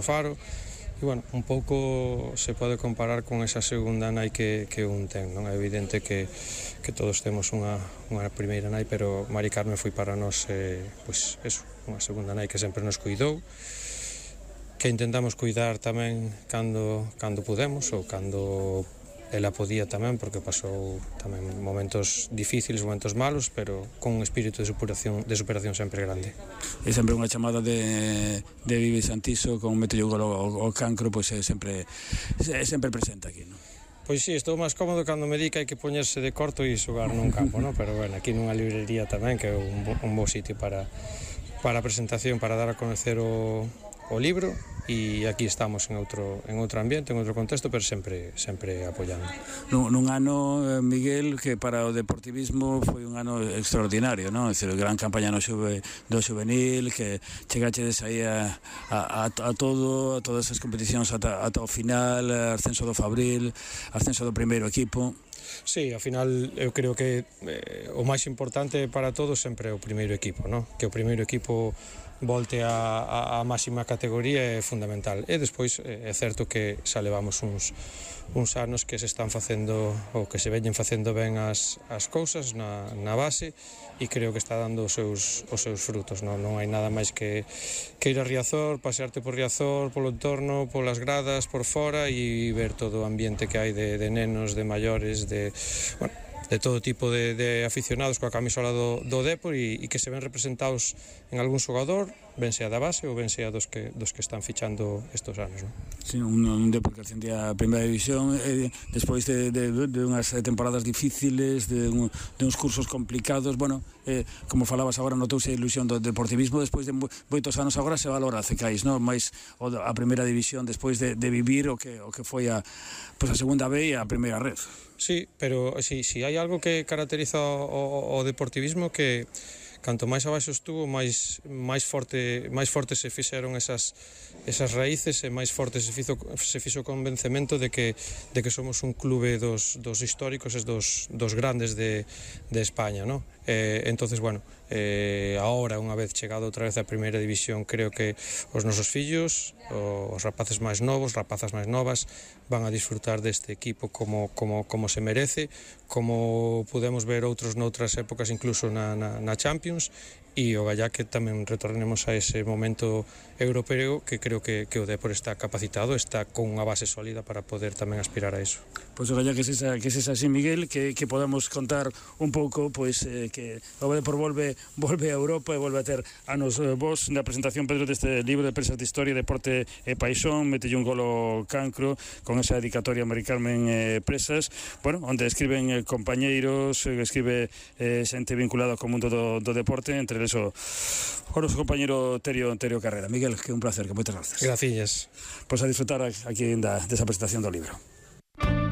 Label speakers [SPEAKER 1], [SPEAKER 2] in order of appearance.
[SPEAKER 1] Faro. E, bueno, un pouco se pode comparar con esa segunda nai que un ten, non? É evidente que todos temos unha primeira nai, pero Mari Carmen foi para nós, pois, eso, unha segunda nai que sempre nos cuidou, que intentamos cuidar tamén cando podemos, ou cando ela podía tamén, porque pasou tamén momentos difíciles, momentos malos, pero con un espírito de superación sempre grande.
[SPEAKER 2] É sempre unha chamada de Vivi Santiso con meterlle o gol ao Cancro, pois é sempre presente aquí, non?
[SPEAKER 1] Pois sí, estou máis cómodo cando me di que hai que poñerse de corto e xogar nun campo, non? Pero bueno, aquí nunha librería tamén, que é un bo sitio para a presentación, para dar a conocer o libro, e aquí estamos en outro ambiente, en outro contexto, pero sempre apoiando.
[SPEAKER 2] Nun ano, Miguel, que para o deportivismo foi un ano extraordinario, non? É dicir, gran campaña do xuvenil, que chegachedes aí a todas as competicións ata o final, ascenso do Fabril, ascenso do primeiro equipo.
[SPEAKER 1] Sí, ao final eu creo que o máis importante para todos sempre é o primeiro equipo, non? Que o primeiro equipo volte a máxima categoría é fundamental. E despois é certo que xa levamos uns anos que se están facendo, ou que se veñen facendo ben as cousas na base, e creo que está dando os seus frutos, non hai nada máis que ir a Riazor, pasearte por Riazor, polo entorno, polas gradas, por fora, e ver todo o ambiente que hai de nenos, de maiores, de todo tipo de aficionados coa camisola do Depor, e que se ven representados en algún xogador, ben sea da base ou ben sea dos que están fichando estos anos, non?
[SPEAKER 2] Sí, un Depor que ascendía a primeira división despois de unhas temporadas difíciles, de uns cursos complicados. Bueno, como falabas agora, notouse a ilusión do deportivismo despois de moitos anos. Agora se valora, Cecais, non? Mais a primeira división despois de vivir o que foi a segunda B e a primeira red.
[SPEAKER 1] Sí, pero si hai algo que caracteriza o deportivismo, que canto máis abaixo estuvo, máis forte se fixeron esas raíces, e máis forte se fixo o convencemento de que somos un clube dos históricos e dos grandes de España, non? Entonces, bueno, agora, unha vez chegado outra vez a primeira división, creo que os nosos fillos, os rapaces máis novos, rapazas máis novas, van a disfrutar deste equipo como se merece, como podemos ver outros noutras épocas, incluso na Champions, e o gallá que tamén retornemos a ese momento europeo, que creo que o Depor está capacitado, está con unha base sólida para poder tamén aspirar a eso.
[SPEAKER 2] Pois o gallá que es así, Miguel, que podamos contar un pouco, pois que o Depor volve a Europa e volve a ter anos vos. Na presentación, Pedro, deste libro de Presas de Historia, Deporte e Paixón, metelle un gol ao Cancro con esa dedicatoria a Mari Carmen Presas, bueno, onde escriben compañeiros, escribe xente vinculada co mundo do deporte, entre eles o noso compañeiro Terio Carrera. Miguel, que un placer, que moitas gracias.
[SPEAKER 1] Gracias.
[SPEAKER 2] Pois a disfrutar aquí desa presentación do libro.